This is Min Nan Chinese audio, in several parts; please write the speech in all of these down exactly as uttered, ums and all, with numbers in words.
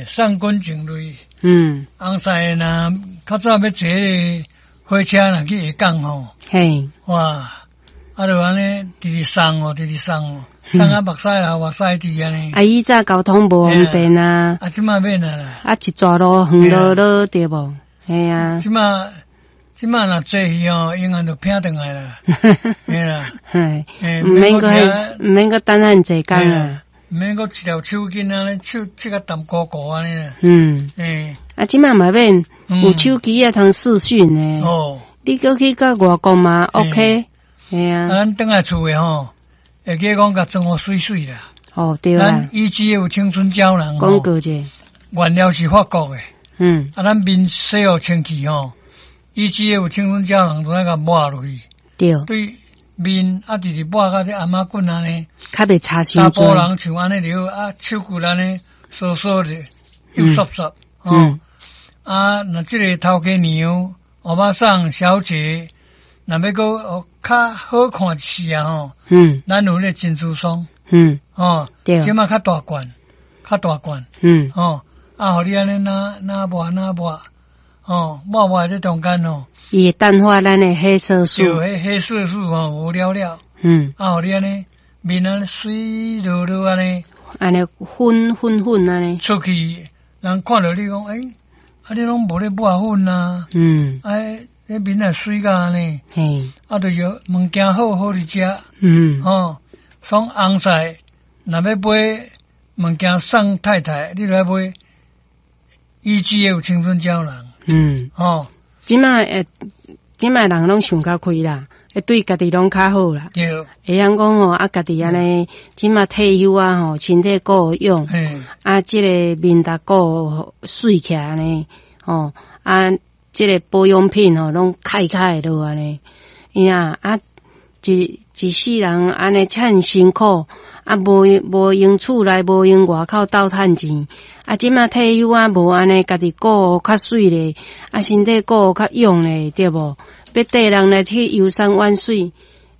送滾淨類。嗯。紅屎若較早欲坐火車若去下港吼，嘿，哇，啊就按呢直直送哦，直直送哦，送啊目屎流目屎滴按呢。啊，以早交通無方便啊。啊，這馬免啊啦。啊，一逝路遠落落對無？嘿啊。這馬這馬若坐去哦，永遠就拚轉來啦。嘿啦。嘿，毋免閣毋免閣等遐濟工啊。毋免閣一條手巾按呢，手這個澹糊糊按呢啦。嗯。嘿。啊，這馬嘛免有手機啊，通視訊呢。哦。你閣去到外國嘛？OK。嘿啊。啊，咱轉來厝的吼，會記講共裝予媠媠啦。哦，對啦。咱以前有青春膠囊。廣告者。原料是法國的。嗯。啊，咱面洗予清氣吼，以前有青春膠囊，就愛共抹落去。對。對面啊，直直抹甲這頷仔骨按呢。較袂差傷查埔人像按呢就好，啊，手骨按呢，酥酥的，又濕濕。嗯。啊，若這个頭家娘、歐巴桑小姐，若欲閣較好看一絲啊吼。嗯。咱有彼个珍珠霜。嗯。哦。對。這馬較大罐，較大罐。嗯。哦，啊，予你按呢若若抹若抹，哦，抹抹這中間哦。伊會淡化咱的黑色素。對，彼黑色素吼無了了。嗯。啊，予你按呢面按呢媠落落按呢。按呢粉粉粉按呢。出去，人看著你講，欸，啊，你攏無咧抹粉啊？嗯。哎，你面若媠甲按呢？嘿。啊，就是物件好好佇食。嗯。吼，所以紅屎若欲買物件送太太，你就愛買 E G F 青春膠囊。嗯。吼，這馬會，這馬人攏想較開啦，會對家己攏較好啦。對。會曉講吼，啊，家己按呢，這馬退休啊吼，身體顧養，啊，這个面逐顧媠起來按呢，吼，啊，這个保養品吼，攏開開落按呢，呀，啊，一一世人按呢遮爾辛苦，啊，無無閒厝內，無閒外口鬥趁錢，啊，這馬退休啊，無按呢，家己顧較媠咧，啊，身體顧較勇咧，對無？欲綴人來去遊山玩水，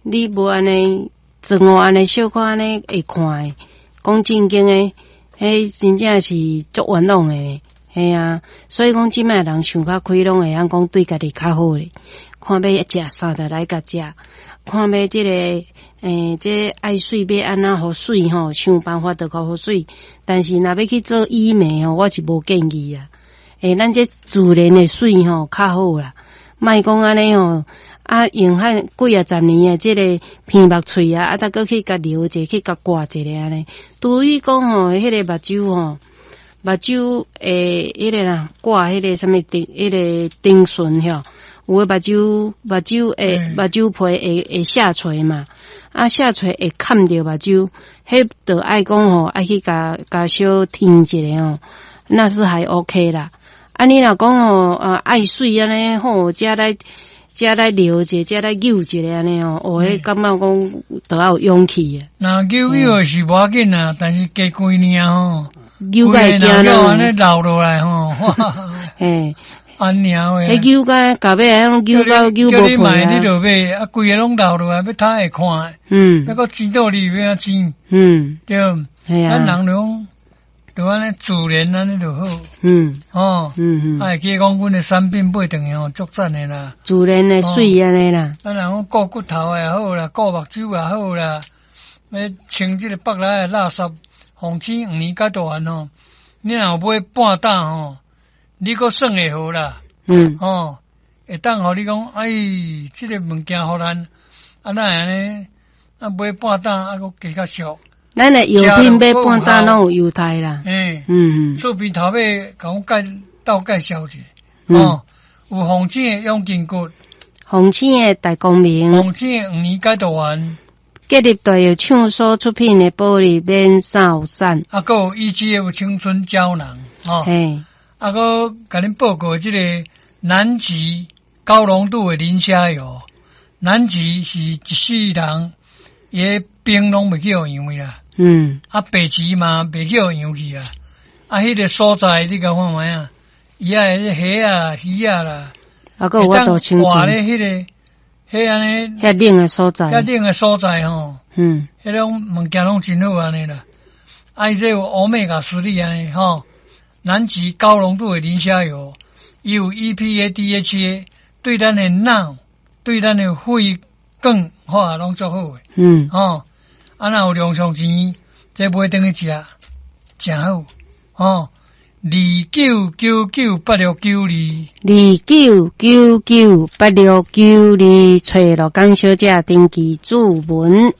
你無按呢，妝予按呢小可按呢會看的，講正經的，彼真正是足冤枉的，嘿啊！所以講這馬人想較開，攏會曉講對家己較好咧。看欲食啥就來共食，看欲這个，欸，這個愛媠欲按怎予媠吼，想辦法就予媠。但是若欲去做醫美吼，我是無建議啊。欸，咱這自然的媠吼較好啦，莫講按呢吼，啊用遐幾仔十年的這个鼻目喙啊，啊，再閣去共留一下，去共掛一下按呢。除非講吼，彼个目睭吼，目睭會彼个啦，掛彼个啥物丁，彼个丁醇吼，有的目睭目睭會目睭皮會會下垂嘛，啊下垂會崁著目睭，彼就愛講吼，愛去共共小添一下吼，那是還 OK 啦。啊，你若講吼，啊愛媠按呢吼，才來才來留一下，才來扭一下按呢吼，哦，彼感覺講著愛有勇氣啊。若扭扭是無要緊啊，但是加幾年吼，扭甲會驚咯，按呢流落來吼，嘿，按呢話。彼扭甲到尾啊，扭到扭無叫你買皮你就買，啊，規个攏流落來，欲通會看。嗯。欲閣錢倒你欲按怎錢？嗯。對。嘿啊。咱人就講，就按呢自然按呢就好。嗯。哦。嗯嗯。啊，會記講阮的產品買轉去吼，足讚的啦。自然的媠按呢啦。咱人講顧骨頭也好啦，顧目睭也好啦，欲清這个腹內的垃圾，防止黃連解毒丸吼，你若有買半打吼，你閣算會好啦。嗯。吼，會當予你講，哎，這个物件予咱，啊哪會按呢？啊買半打啊閣加較俗。咱的藥品買半打攏有優待啦。欸，嗯嗯。厝邊頭尾共阮介鬥介紹者，哦，有防止的養筋骨，防止的大光明，防止的黃連解毒丸，建立大藥廠所出品的保利免掃散。啊，閣有 E G F 青春膠囊，哦，嘿，啊，閣共恁報告這個南極高濃度的磷蝦油，南極是一世人伊的冰攏袂去予溶去啦。嗯。啊，北極嘛袂去予溶去啦。啊，彼个所在你共看覓啊？伊愛蝦啊、魚啊啦，啊，閣有法度生活咧彼个，彼按呢？遐冷的所在。遐冷的所在吼。嗯。彼種物件攏真好按呢啦。啊，伊這有歐米伽三按呢吼。南極高濃度的磷蝦油，伊有 E P A、D H A，對咱的腦、對咱的血管化攏足好的。嗯，吼，啊，若有零用錢，這買轉去食，誠好。吼，二九九九八六九二，二九九九八六九二，揣鹿港小姐登記注文。